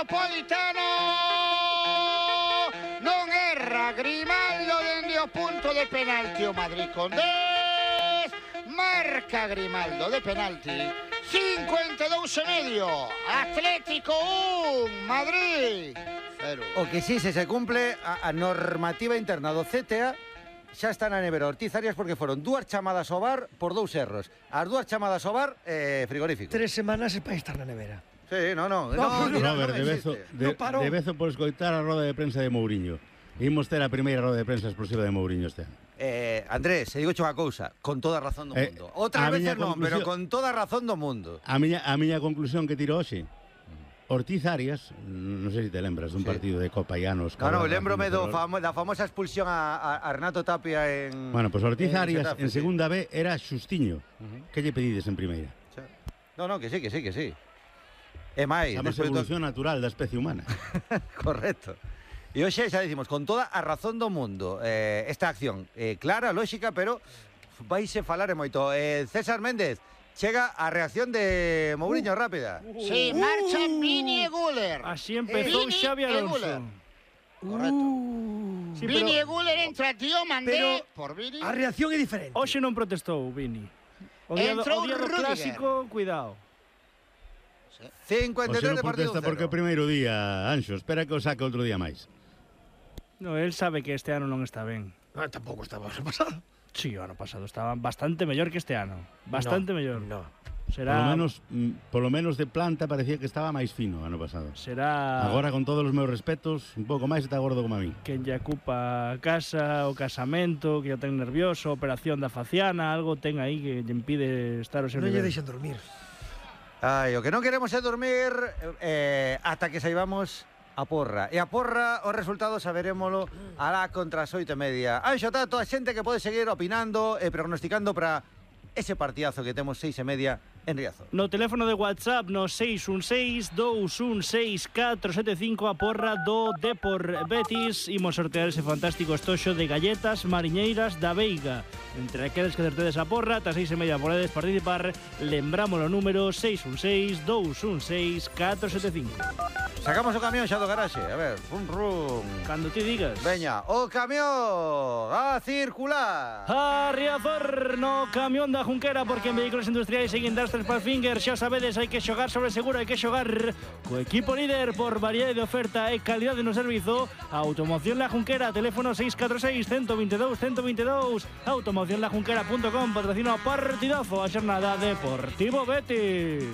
Metropolitano. Non erra Grimaldo dende o punto de penalti o Madrid con 10. Marca Grimaldo de penalti. 52,5. Atlético 1, Madrid 0. O que sí, se cumple a normativa interna do CTA. Xa está na nevera Ortiz Arias porque foron 2 chamadas ao bar por 2 erros. As 2 chamadas ao bar, frigorífico. 3 semanas para estar na nevera. Sí, no, Robert, de vezo por escoitar a roda de prensa de Mouriño. Imos ter a primeira roda de prensa explosiva de Mouriño este ano. Andrés, se digo unha cousa, con toda a razón do mundo. Outras veces non, pero con toda a razón do mundo. A miña conclusión que tiro hoxe, Ortiz Arias, non sei se te lembras dun partido de Copa Llanos. No, lembrome da famosa expulsión a Renato Tapia en... Bueno, pues Ortiz Arias en segunda B era xustiño. Que lle pedides en primeira? No, que sí. E máis... Chama evolución natural da especie humana. Correcto. E hoxe xa dicimos, con toda a razón do mundo, esta acción clara, lógica, pero vaise falar moito. César Méndez, chega a reacción de Mouriño rápida. Sí, marcha Vini e Güler. Así empezou Xavi Alonso. Correcto. Sí, Vini e Güler entra Diomandé por Vini. A reacción é diferente. Hoxe non protestou Vini. O día do clásico, cuidado. 53 de partido. Protesta porque o primeiro día, Anxo, espera que o saque outro día máis. No, él sabe que este ano non está ben. Tampouco estaba o ano pasado. Sí, o ano pasado estaba bastante mellor que este ano. Bastante mellor. No. Será... Polo menos de planta parecía que estaba máis fino ano pasado. Será... Agora, con todos os meus respetos, un pouco máis está gordo como a mí. Que lle ocupa a casa, o casamento, que o ten nervioso, operación da faciana, algo ten aí que lle impide estar o seu nivel. Non lle deixan dormir. Ai, o que non queremos é dormir ata que saibamos a porra. E a porra, os resultados saberémolo alá contra as 8:30. Anxo Tato, a xente que pode seguir opinando e prognosticando para ese partidazo que temos 6:30 en Riazor. No teléfono de WhatsApp no 616-216-475 a porra do Depor Betis. Imos sortear ese fantástico estoxo de galletas mariñeiras da Veiga. Entre aqueles que acertedes a porra, ata 6:30 podedes participar. Lembramos o número 616-216-475. Sacamos o camión xa do garaxe. A ver, rum. Cando ti digas. Veña, o camión a circular. A Riazor no camión da Junquera, porque en Vehículos Industriais e Industries Palfinger xa sabedes, hai que xogar sobre seguro, hai que xogar co equipo líder por variedade de oferta e calidade no servizo. Automoción La Junquera, teléfono 646-122-122. Automocionlajunquera.com, patrocina o partidazo a xornada Deportivo Betis.